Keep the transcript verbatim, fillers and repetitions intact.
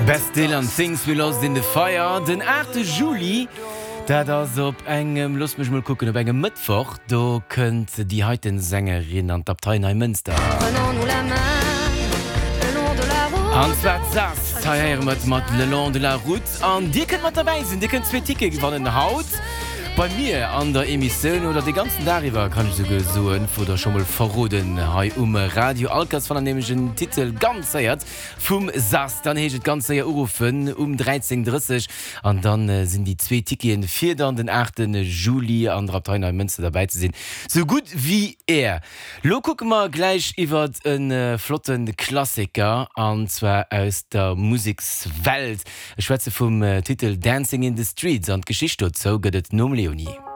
Best Dylan, Things We Lost in the Fire. Den aachte Juli, dat ass op engem, loosst mech mol kucken, op engem Mëttwoch, do kënnt déi heiten Sängerin an d'Abtei Neimënster. An zwar d'Zaz. Hei héiere mer et mat Le long de la route. An dir kënnt mat derbäi sinn, dir kënnt zwee Tickete gewannen haut bei mir an der Emissioun oder de ganzen Dag iwwer, kann ech esouguer soen, oder scho mol verroden hei um Radio. All Kéiers wann der nämlech en Titel ganz héiert vum Zaz, dann heescht et ganz séier uruffen um dräizéng drësseg an dann sinn déi zwee Ticketen fir dann den aachte Juli an der Abtei Neimënster derbäi ze sinn sou gutt wéi är. Lo kucke mer gläich iwwert e flotte Klassiker an zwar aus der Musekswelt. Ech schwätze vum Titel Dancing in the Streets an d'Geschicht dozou gëtt et nom Leonie.